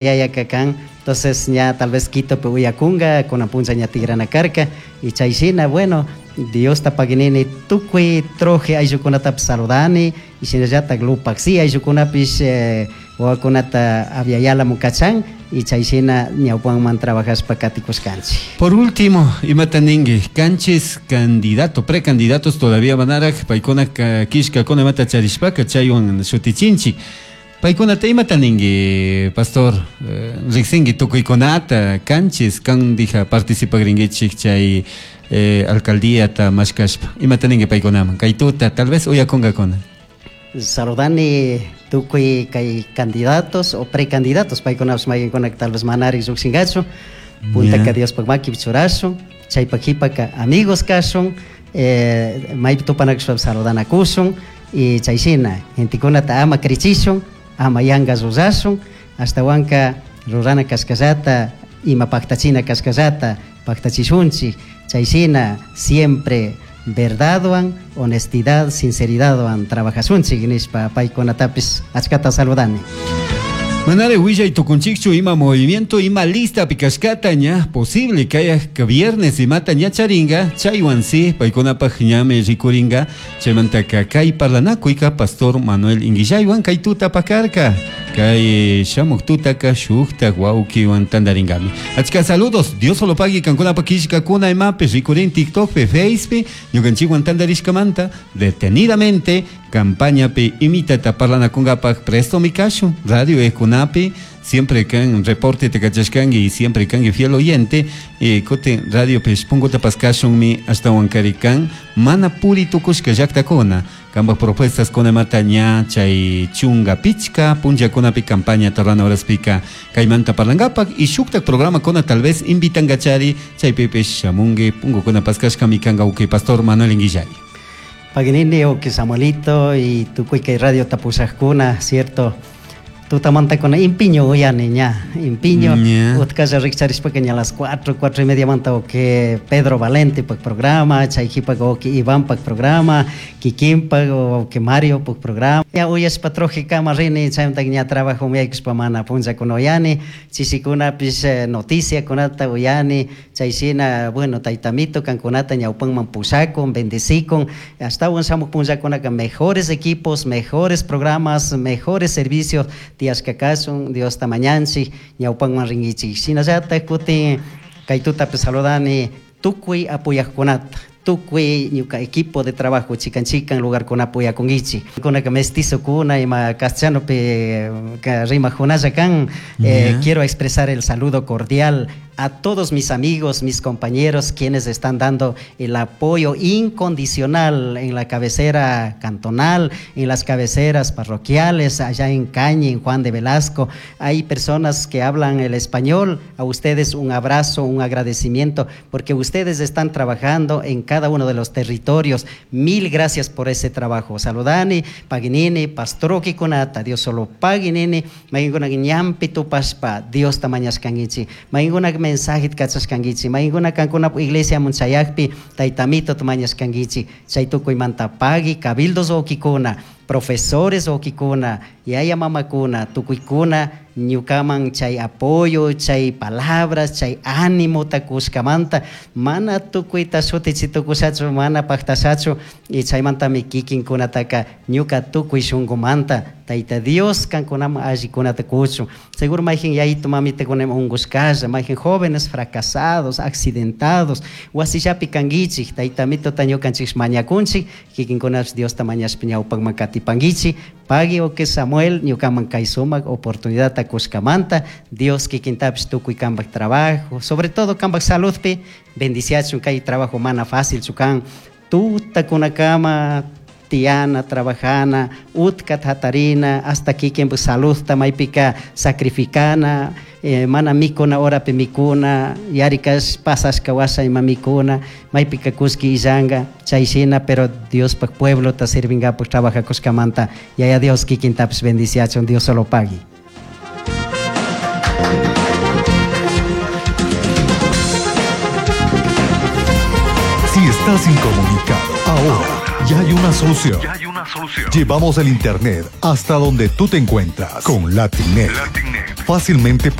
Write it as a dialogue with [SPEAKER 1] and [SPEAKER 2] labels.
[SPEAKER 1] Yayaka kan, entonces ña tal vez Quitopi uyakunga, kunan punlla ña tigrana karka, y chay shina, bueno, Diosta paginini tukuy troje ayllukunatapish saludani, y shinallatak Lupaxi ayllukunapish wawakunata Abya-Yalamun kachan, y chay shina ñawpanman trabajashpa katikushkanchik.
[SPEAKER 2] Por último, imata ningui, kanchis candidato, precandidatos todavía manaraj, paykuna kishkakuna imata charishpaka chaywan shutichinchik. Paykunata imata ningui, pastor, riksingui tukuykunata, kanchis kandija participagringuichik chay alcaldíata mashkashpa, imata ningui paykunaman, kay tuta tal vez uyakunkakuna.
[SPEAKER 1] Saludani tukuy kay candidatos o precandidatos, paykunapish mayqinkunaka tal vez manarik llukshinkachu, puntaka Diospak makipi churashun, chaypak jipaka amigos kashun, maypi tupanakushpapish saludanakushun, y chay shina gentekunata ama krichishun, ama yanka rurashun, ashtawanka rurana kashkallata, ima paktachina kashkallata paktachishunchik, chay shina siempre verdadwan, honestidad, sinceridadwan trabajashunchik nishpa paykunatapish achkata saludani.
[SPEAKER 2] Manare willay tukunchikchu ima movimiento, ima lista pikashkata ña posible kayaj viernes imata ña charinga, chaywan si paykunapaj ñami rikuringa, chaymantaka kay parlanakuyka pastor Manuel Inguillaywan kay tuta pakarka, kay shamuk tutaka shuktak wawkiwan tandaringami. Achka saludos, Dios solo pagui kankunapaj kishkakuna imapi rikurin TikTokpi, Facepi, ñukanchikwan tandarishkamanta detenidamente campañapi imitata parlanakunkapaj presto mi kashu, radio ekunapi, siempre kan reporte te kachashkanki y siempre kanki fiel oyente, kutin radio pish punkuta paskashunmi ashtawan kari kan mana puri tukushka llaktakuna, kanpak propuestas kunamata ña chay chunga pichka punllakunapi campaña tarrana horaspika kaymanta parlankapak y shuktak programakuna tal vez invitankachari chaypipish shamunki punkukuna paskashkami kanka uki pastor Manuel Inguillay.
[SPEAKER 1] Paginini uki Samuelito y tukuy kay radio tapushajkuna, cierto, tutamantakuna impiño uyani ña, impiño, utkalla rikcharishpaka ña las 4, 4 y media manta uki Pedro Valente pak programa, chay jipak uki Iván pak programa, Kikin pak uki Mario pak programa. Ña uyashpa troje kama rini, chaymantaka ña trabajo yaykushpa mana punllakuna uyani, chishikunapish noticiakunata uyani, chay shina, bueno, taytamito kankunata ñawpanman pushakun, bendecikun, ashtawan shamuj punllakunaka mejores equipos, mejores programas, mejores servicios tiyashka kashun, Diosta mañanchik, ñawpanman rinkichik. Shinallatak kutin kay tutapi saludani tukuy apoyajkunata, tukuy ñuka equipo de trabajo chikan chikan lugarkunapi uyakunkichik. Kunaka mestizokuna ima castellanopi rimajkunalla kan, quiero expresar el saludo cordial a todos mis amigos, mis compañeros, quienes están dando el apoyo incondicional en la cabecera cantonal, en las cabeceras parroquiales, allá en Cañi, en Juan de Velasco. Hay personas que hablan el español. A ustedes un abrazo, un agradecimiento, porque ustedes están trabajando en cada uno de los territorios. Mil gracias por ese trabajo. Saludani, Paginini, Pastroki kunata, Dios solo Paginini, mainguna ñampi tupashpa, Dios tamañashkangichi, mainguna mensaje kachashkankichik, maykuna kankuna iglesia munchayakpi taytamito mañashkankichik, chay tukuymanta pagui cabildos wawkikuna, profesores wawkikuna, yaya mamakuna, tukuykuna ñukaman chay apoyo, chay palabras, chay ánimo kushkamanta, mana tukuyta shutichitukushachu, mana paktashachu, y chaymantami kikinkunataka ñuka tukuy shunkumanta Tayta Dios kankunaman allikunata kuchun. Seguro mayjin yayito mamitakuna ungushkalla, mayjin jóvenes fracasados, accidentados, wasillapi kankichik, taytamitota ñukanchik mañakunchik, kikinkunapish Diosta mañashpa ñawpakman katipankichik, pagui uke Samuel ñukaman kay sumak oportunidadta kushkamanta, Dios kikintapish tukuy kanpak trabajo, sobre todo kanpak saludpi, bendiciachun kay trabajo mana fácil kan, tutakunakama tiana, trabajana, utka hatarina, hasta kikinpak saludta maypika sacrificana, mana mikuna horapi mikuna, yarikash pasashka washa ima mikuna, maypika kuski illanka, chay shina, pero Diospak pueblota sirvingapak trabajakushkamanta, Yaya Dios kikintapish bendiciachun, Dios solo pagui.
[SPEAKER 3] Si estás incomunicado, ahora ya hay una solución. Una solución.
[SPEAKER 4] Llevamos el Internet hasta donde tú te encuentras con LatinNet.
[SPEAKER 3] LatinNet.
[SPEAKER 4] Fácilmente.